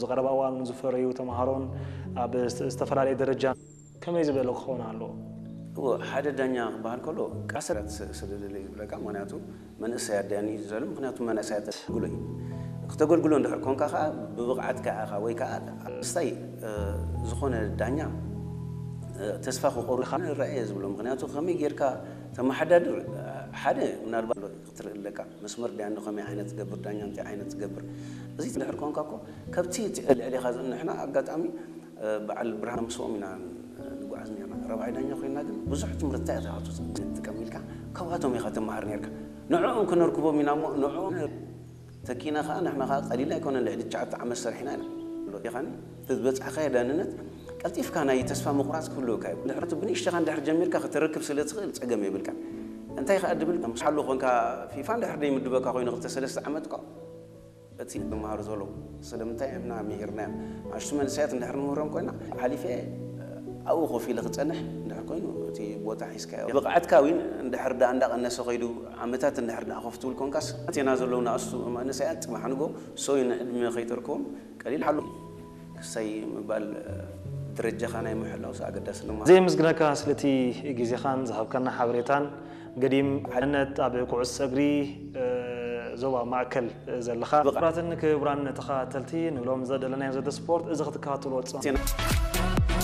ዝቐረባ እዋን ዝፈረዩ ተምሃሮን ኣብ ዝተፈላለየ ደረጃ ከመይ ዝበለ ክኸውን ኣለዎ? እዎ፣ ሓደ ዳኛ ክበሃል ከሎ ቃሰራት ስለ ደለዩ ዝብለካ። ምክንያቱ መንእሰያት ዳኒ ዝደሉ፣ ምክንያቱ መንእሰያት ተገልግሎ እዩ። ክተገልግሎ እንድሕር ኮንካ ከዓ ብብቕዓትካ ኢኻ ወይ ከዓ ስታይ ዝኾነ ዳኛ ተስፋ ክቆርብ ንረአ እየ ዝብሎ። ምክንያቱ ከመይ ጌርካ ተመሓዳድር ሓደ ምናልባት ክትርኢ ኣለካ፣ መስመር ዳኒ ከመይ ዓይነት ትገብር፣ ዳኛ እንታይ ዓይነት ትገብር። እዚ እንድሕር ኮንካ እኮ ከብቲ ልዕሊኻ ዝንሕና ኣጋጣሚ በዓል ብርሃን ምስኦም ኢና ንጓዓዝ ነርና። ረብዓይ ዳኛ ኮይና ግን ብዙሕ ትምህርትታት ኢኻ ትጥቀም ኢልካ ካብኣቶም ኢኻ ትመሃር ነርካ። ንዕኦም ክነርክቦም ኢና እሞ ንዕኦም ተኪና ከዓ ንሕና ከዓ ቀሊል ኣይኮነን። ልዕሊ ትሽዓተ ዓመት ሰሪሕና ኢና። ኢኻኒ እቲ ዝበፅሕካዮ ዳንነት ቀልጢፍካ ናይ ተስፋ ምቁራፅ ክህልወካ እዩ። ድሕረቱ ብንእሽተኻ እንድሕር ጀሚርካ ከተረክብ ስለ ትኽእል ፀገም የብልካ። እንታይ ከዓ ድብል ሓሉ ኮንካ ፊፋ እንድሕር ደይምድበካ ኮይኑ ክልተ ሰለስተ ዓመት እኳ እቲ ዝመሃሩ ዘለዉ ስለምንታይ ኢና ምሂርናዮም? ኣሽቱ መንእሰያት እንድሕር ንምህሮም ኮይና ሓሊፈ ኣብኡ ኮፍ ኢለ ክፀንሕ እንድሕር ኮይኑ እቲ ቦታ ሒዝካዮ ብቕዓትካ እውን እንድሕር ዳ እንዳቐነሰ ከይዱ ዓመታት እንድሕር ዳ ኮፍ ትብል ኮንካስ ኣቴና ዘለዉ ንኣስቱ መንእሰያት ፅባሕ ንጎ ሰው ንዕድመ ከይተርክቦም ቀሊል ሓሉ ክሳይ ምባል ደረጃኻ ናይ ምሕላው ኣገዳሲ ድማ ዘየምስግነካ ስለቲ ግዜኻን ዝሃብካና ሓበሬታን። ገዲም ሓድነት ኣብ ኩዕሶ እግሪ ዞባ ማእከል ዘለኻ። ብቕራትን ክቡራን ተኸታተልቲ ንብሎም ዘደለናዮ ዘተ ስፖርት እዚ ክትከታተልዎ ዝጸ